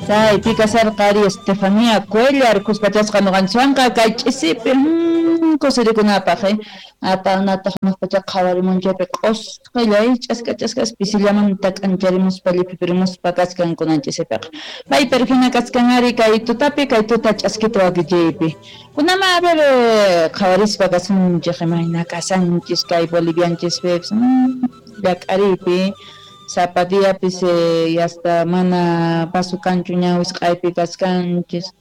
Chaypi kasharqa ari Estefanía Cuellar kuskachasqa ñuqanchikwanqa kay ch'isipi kusirikunapaq apanataq hanaq qhawarimunchaypi q'usqilla ch'aska ch'askas pisillamanta k'ancharimuspa lliphipirimuspa kachkan kunan ch'isipiqa. May pero hina kachkan ari kay tutapi kay tuta ch'askita wakichiypi. Kunama a ver qhawarispa kasunchik imayna kasanchis kay bolivianchispipis llak'ariypi sapa diapis hasta mana paso kanchu ña wisq'aypi kachkanchis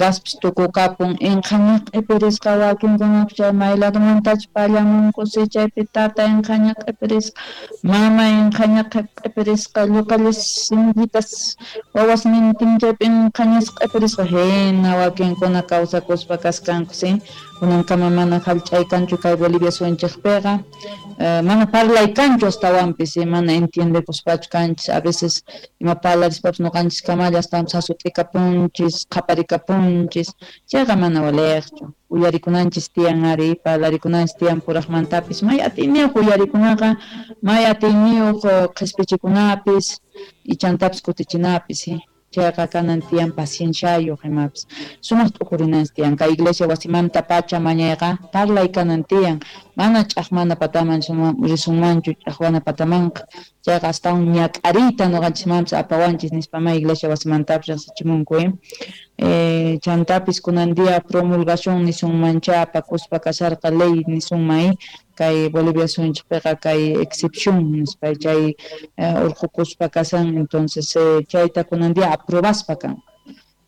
gaspis tukukapun inqhaña q'ipirisqa wakinkunapis chay may ladomantachu pallamunku si chaypi tata inqhaña q'ipirisqa mama inqhaña q'ipirisqa lluqallas sinchitas wawasnintin chaypi inqhañas q'ipirisqa hina wakinkuna kawsakuspa kaskanku si kunankama mana hallch'ay kanchu kay Bolivia suyunchikpiqa mana parlay kanchu astawanpis mana entiendekuspachu kanchis a veces ima parlarispapis ñuqanchis kamalla astawanpis hasut'ikapunchis qhaparikapunchis chayqa mana waliqchu uyarikunanchis tiyan ari parlarikunanchis tiyan puraqmantapis may atiyniyuq uyarikunaqa may atiyniyuq qhispichikunapis ichantapis kutichinapis chayqa kanan tiyan pacienciayuq imapis sumaq t'ukurinanchis tiyan kay iglesia wasimanta pacha mañayqa parlay kanan tiyan mana ch'aqmana pataman risunmanchu ch'aqwana patamanqa chayqa astawan ñak'ariyta ñuqanchismanpis apawanchis nispa ma iglesia wasimantapis riqsichimunku chantapis kunan día promulgación nisunmancha apakuspa kasharqa ley nisunman kay Bolivia suyunchikpiqa kay excepción nispa chay urqukuspa kasan entonces chayta kunan día aprobaspa kan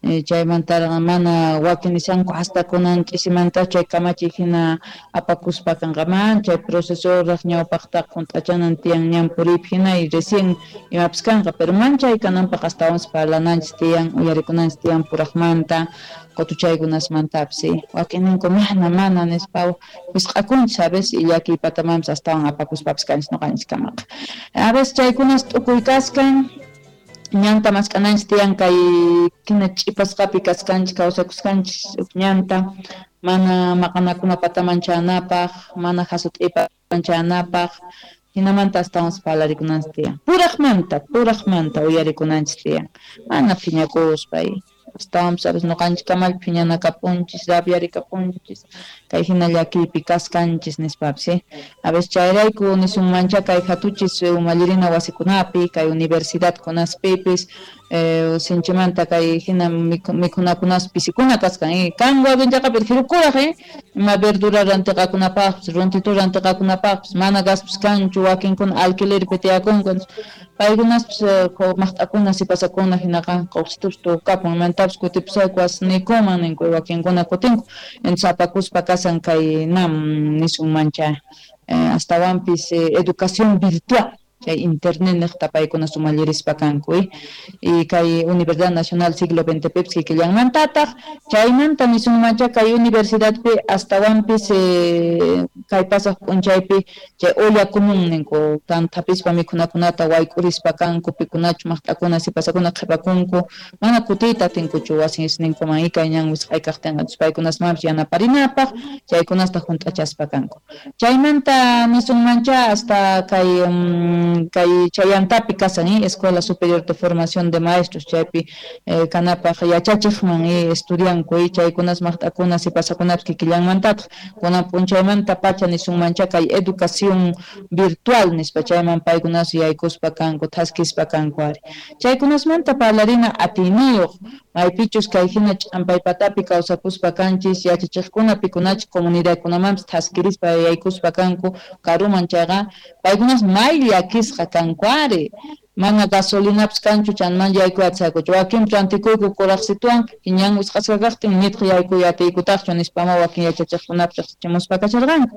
chaymantaqa mana wakin nishanku hasta kunan ch'isimanta chay kamachiy hina apakuspa kanqa man chay procesoraq ñawpaqtaqa hunt'achanan tiyan ñan puriypi hina y recién imapis kanqa pero man chay kananpaq astawanpis parlananchis tiyan uyarikunanchis tiyan puraqmanta qutuchaykunasmantapis wakinninku mana mana nispa wisq'akunchis a veces y llakiy patamanpis astawan apakuspapis kanchis ñuqanchis kamaqa a veces chaykunas t'ukuy kaskan ñanta mask'ananchis tiyan kay hina ch'ipasqapi kaskanchis kawsakusqanchis huk ñanta mana maqanakuna pataman chanapaq mana hasut'ipa chanapaq hinamanta astawanpis parlarikunanchis tiyan puraqmanta uyarikunanchis tiyan mana phiñakuspa astawanpis a veces ñuqanchis kamalla phiñanakapunchis rabiarikapunchis kay hina llakiypi kaskanchis nispapis a veces chayrayku nisunmancha kay hatuchis umallirina wasikunapi kay universidadkunaspipis sinchimanta kay hina mikhunakunas pisikuna kaskan kan wakinchaqa pero hirukuraq ima verdura rantiqakunapaqpis runtitu rantiqakunapaqpis mana gaspis kanchu wakinkuna alquilerpi tiyakunku paykunaspis maqt'akuna sipasakuna hinaqa quqsitupis tukukapun imantapis kutipusayku wasniykuman ninku wakinkuna kutinku entonces apakuspa kasan kay nam nisunmancha astawanpis educación virtual chay internet niqta paykuna sumallirispa kanku y kay Universidad Nacional Siglo XX pipis kikillanmantataq chaymanta nisunmancha kay universidadpi astawanpis kay pasaq p'unchaypi chay olla común ninku tanthapispa mikhunakunata wayk'urispa kanku pikunachu maqt'akuna sipasakuna qhipakunku mana kutiyta atinkuchu wasinisninkuman kay ñan wisq'ay kaqtinqa paykunasmanpis yanaparinapaq chaykunasta hunt'achaspa kanku chaymanta nisunmancha hasta kay kay chayantapi kasan Escuela Superior de Formación de Maestros chaypi kanapaq yachachiqman estudianku chaykunas maqt'akuna sipasakunapis kikillanmantataq kunan p'unchaymanta pacha nisunmancha kay educación virtual nispa chayman paykunas yaykuspa kanku thaskispa kanku ari chaykunasmanta parlarina atiyniyuq maypichus kay hina ch'ampay patapi kawsakuspa kanchis yachachiqkuna pikunachik comunidadkunamanpis thaskirispa yaykuspa kanku karuman chayqa paykunas may llakisqa kanku ari mana gasolinapis kanchu chanman yaykuy atisaykuchu wakinpi rantikuyku kuraqsituwan ñan wisq'asqa kaqtin nitaq yaykuy atiykutaqchu nispama wakin yachachiqkunapis riqsichimuspa kasharqanku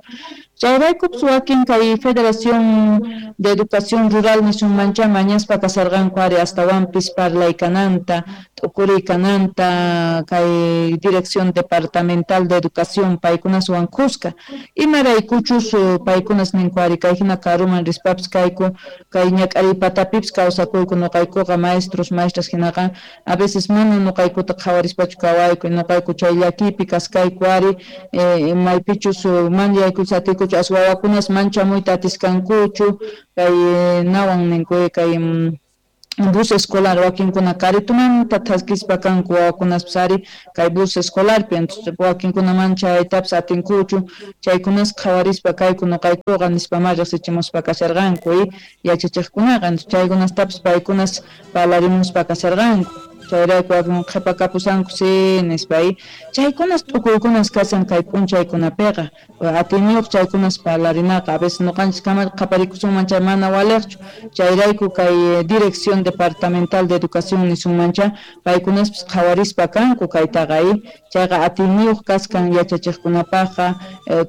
chayraykupis wakin kay Federación de Educación Rural nisunmancha mañaspa kasharqanku ari astawanpis parlay kananta t'ukuriy kananta kay Dirección Departamental de Educación paykunaswan kuska imaraykuchus paykunas ninku ari kay hina karuman rispapis kayku kay ñak'ariy patapipis kawsakuyku ñuqaykuqa maestros maestras hinaqa a veces mana ñuqaykuta qhawarispachu kawayku ñuqayku chay llakiypi kaskayku ari maypichus man yaykuchu atiykuchu as wawakunas manchamuyta atiskankuchu kay nawan ninku kay Bus escolar wakinkuna karitumanta thaskispa kanku wawakunaspis ari kay bus escolarpi, entonces wakinkuna mana chaytapis atinkuchu, chaykunas qhawarispa kayku nuqaykuqa nispamá riqsichimuspa kasharqanku yachachiqkunaqa, entonces chaykunastapis paykunas parlarimuspa kasharqanku, chayrayku wakin qhipakapusanku si nispa chaykunas t'ukuykunas kashan kay p'unchaykunapiqa, atiyniyuq chaykunas parlarinaqa, a veces nuqanchis kama qhaparikusunman chay mana waliqchu, chayrayku kay Dirección Departamental de Educación nisunmancha paykunaspis qhawarispa kanku kaytaqa chayqa atiyniyuq kaskan yachachiqkunapaqqa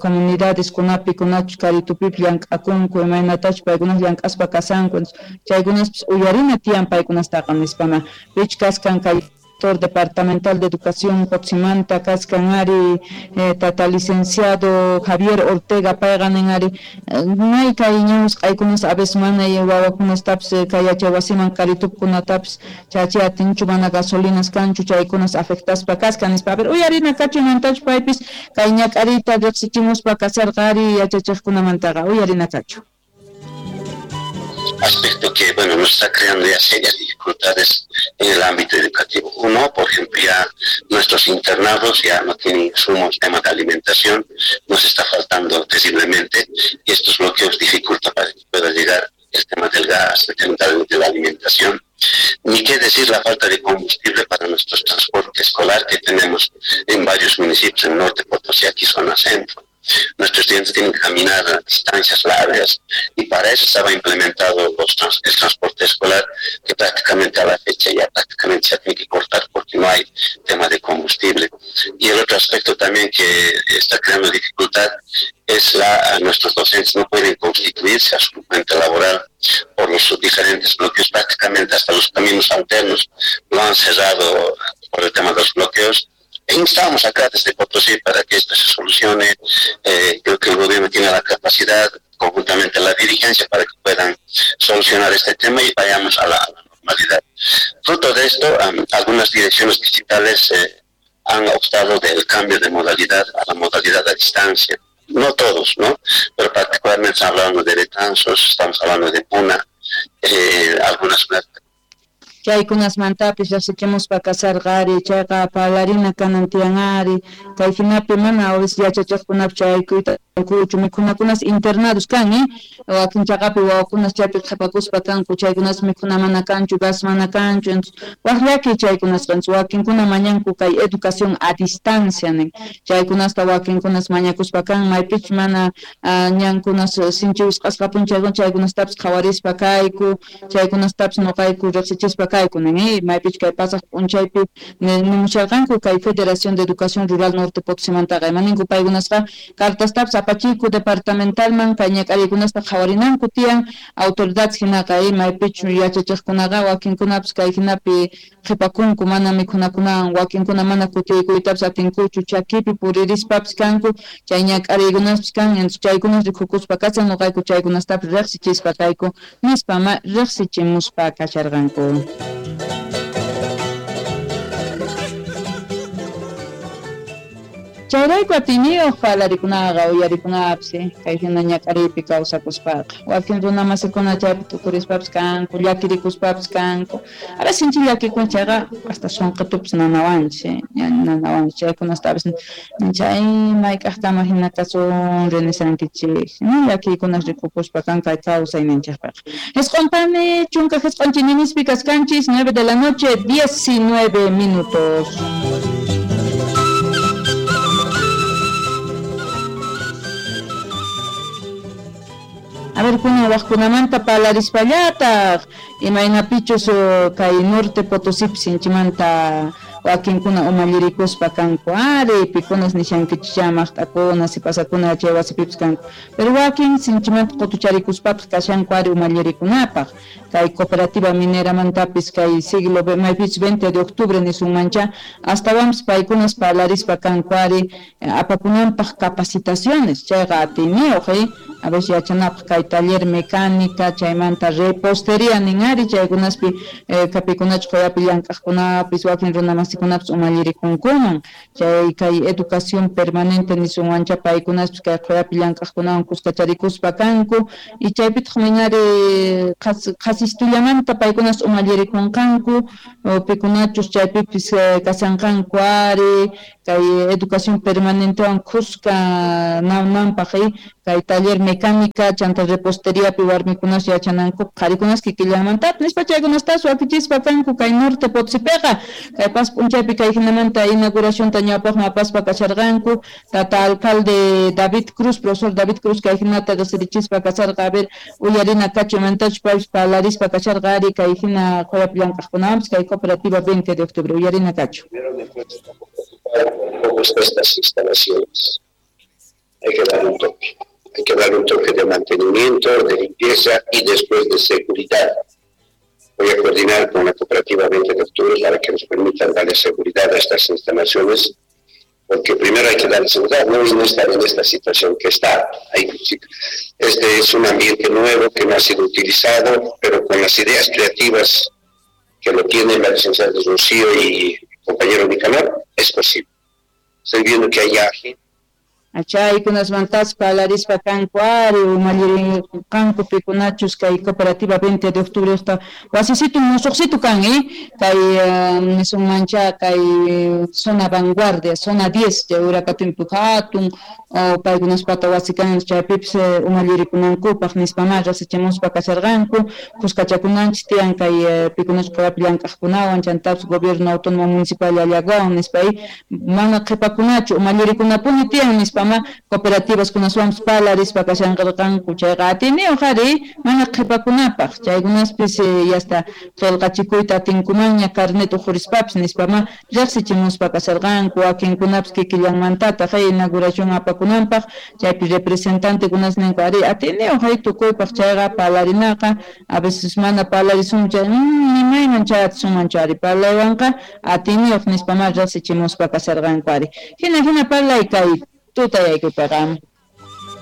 comunidadeskunapi kunachus karitupipi llank'akunku imaynatachus paykunas llank'aspa kasanku, chaykunaspis uyarina tiyan paykunastaqa nispama pich kaskan kay director departamental de educación Potsimanta kaskan ari tata licenciado Javier Ortega payqa nin ari may kay ñawsq'aykunas a veces mana wawakunastapis kay yachay wasiman karitupkunatapis chachi atinchu mana gasolinas kanchu chaykunas afectaspa kaskan nispa. A ver, uyarina kachu paypis kay ñak'ariyta riqsichimuspa kasarqa ari yachachiqkunamantaqa uyarina kachu. Aspecto que, bueno, nos está creando ya serias dificultades en el ámbito educativo. Uno, por ejemplo, ya nuestros internados ya no tienen insumos, tema de alimentación, nos está faltando terriblemente y estos bloqueos dificultan para que pueda llegar el tema del gas, el tema de la alimentación. Ni qué decir la falta de combustible para nuestro transporte escolar que tenemos en varios municipios en el norte, Potosí, aquí zona centro. Nuestros estudiantes tienen que caminar a distancias largas y para eso estaba implementado el transporte escolar, que prácticamente a la fecha ya prácticamente se tiene que cortar porque no hay tema de combustible. Y el otro aspecto también que está creando dificultad es nuestros docentes no pueden constituirse a su fuente laboral por los diferentes bloqueos, prácticamente hasta los caminos alternos lo han cerrado por el tema de los bloqueos. E instamos acá desde Potosí para que esto se solucione. Creo que el gobierno tiene la capacidad, conjuntamente la dirigencia, para que puedan solucionar este tema y vayamos a la normalidad. Fruto de esto, algunas direcciones digitales han optado del cambio de modalidad a la modalidad a distancia. No todos, ¿no? Pero particularmente estamos hablando de Betanzos, estamos hablando de Puna, algunas... Chaykunasmantapis riqsichimuspa kasarqa ari chayqa parlarina kanan tiyan ari kay hinapi mana yachachiqkunapis chaykuyta kuchu mikhunakunas internados kan wakin chaqapi wawakunas chaypi qhipakuspa kanku chaykunas mikhuna mana kanchu gas mana kanchu waq llaki chaykunasqa wakinkuna mañanku kay educación a distancia nin chaykunasta wakinkunas mañakuspa kan maypichus mana ñankunas sinchi wisq'asqa punchaykuna chaykunastapis qhawarispa kayku chaykunastapis nuqayku riqsichispa kayku nin maypichus kay pasaq p'unchaypi nimusharqanku kay Federación de Educación Rural Norte Potosimantaqa imaninku paykunasqa cartastapis apachiku departamentalman kay ñak'ariykunasta qhawarinanku tiyan autoridades hinaqa maypichu yachachiqkunaqa wakinkunapis kay hinapi qhipakunku mana mikhunakunawan wakinkuna mana kutiykuytapis atinkuchu chakipi puririspapis kanku chay ñak'ariykunaspis kan entonces chaykunas rikukuspa kashan nuqayku chaykunastapis riqsichispa kayku nispa ma riqsichimuspa kasharqanku. Chayrayku atiyniyuq parlarikunaqa uyarikunapis kay hina ñak'ariypi kawsakuspaqa wakin runa masikuna chaypi tukurispapis kanku llakirikuspapis kanku a veces sinchi llakikun chayqa hasta sunqitupis nanawanchis nanawanchis chaykunastapis chay mayk'aqtama hina kasun rinishankichik llakiykunas rikukuspa kan kay kawsayninchikpiqa. Isq'unpani chunka jisq'un chininispi kaskanchis 9 de la noche 19 minutos. A ver, kuna waqkunamanta parlarispallataq imaynapichus kay Norte Potosí sinchimanta wakinkuna umallirikuspa kanku ari pikunas nishankichis maqt'akuna sipasakuna chay wasipipis kanku pero wakin sinchimanta qutucharikuspapis kashanku ari umallirikunapaq kay cooperativa mineramantapis kay siglo maypichus 20 de octubre nisunmancha astawanpis paykunas parlarispa kanku ari apakunanpaq capacitaciones chayqa atiyniyuq A veces yachanapaq kay taller mecánica chaymanta repostería nin ari chaykunaspi kapikunachu qoyapi llank'aqkunapis wakin runamasikunapas umallirikunkuman chay kay educación permanente nisunwancha paykunaspis kay qoyapi llank'aqkunawan kuskacharikuspa kanku y chaypitaq minari qhasistullamanta paykunas umallirikunqanku pikunachus chaypipis kasanqanku ari kay educación permanentewan kuska nananpaq kay taller mecánica chanta reposteriapi warmikunas yachananku qharikunas kikillanmantapis nispa chaykunastas wakichispa kanku kay Norte Potosipiqa kay pas p'unchaypi kay hinamanta inauguracionta ñawpaqman apaspa kasharqanku tata alcalde David Cruz, profesor David Cruz kay hinata riqsirichispa kasharqa a ver uyarina kachumantachus paypis parlarispa kasharqa ari kay hina qoyapi llank'aqkunawanpis kay cooperativa 20 de octubre uyarina kachu. Primero me encuentro un poco preocupado cómo están estas instalaciones. Hay que darle un toque. Hay que darle un toque de mantenimiento, de limpieza y después de seguridad. Voy a coordinar con la cooperativa 20 de octubre para que nos permitan darle seguridad a estas instalaciones, porque primero hay que darle seguridad, no y no estar en esta situación que está. Este es un ambiente nuevo que no ha sido utilizado, pero con las ideas creativas que lo tienen la licenciada Rocío y el compañero Nicanor, es posible. Estoy viendo que hay gente. Chaykunasmantas parlarispa kanku ari umallirinqanku pikunachus kay cooperativa 20 de octubre wasisitu musuqsitu kan kay nisunmancha kay zona vanguardia, zona 10 chay urakatumpi hatun paykunaspata wasi kan chaypipis umallirikunankupaq nispamá rasichimuspa kasharqanku kuskachakunanchis tiyan kay pikunachus qoyapi llank'aqkunawan chantapis gobierno autónomo municipal Llallaguawan nispa mana qhipakunachu umallirikunapuni tiyan nispamá cooperativas kunaswanpis parlarispa kashanqarqanku chayqa atiniyuq ari mana qhipakunapaq chaykunaspis yasta qillqachikuyta atinkumanña carnet uqhurispapis nispamá riqsichimuspa kasharqanku wakinkunapis kikillanmantataq inauguración apakunanpaq chaypi representantekunas ninku ari atiniyuq hay tukuypaq chayqa parlarinaqa a veces mana parlarisun chay nimayman chay atisunmanchu ari parlaywanqa atiniyuq nispamá riqsichimuspa kasharqanku ari hina hina parlay kay tutayaykupiqa.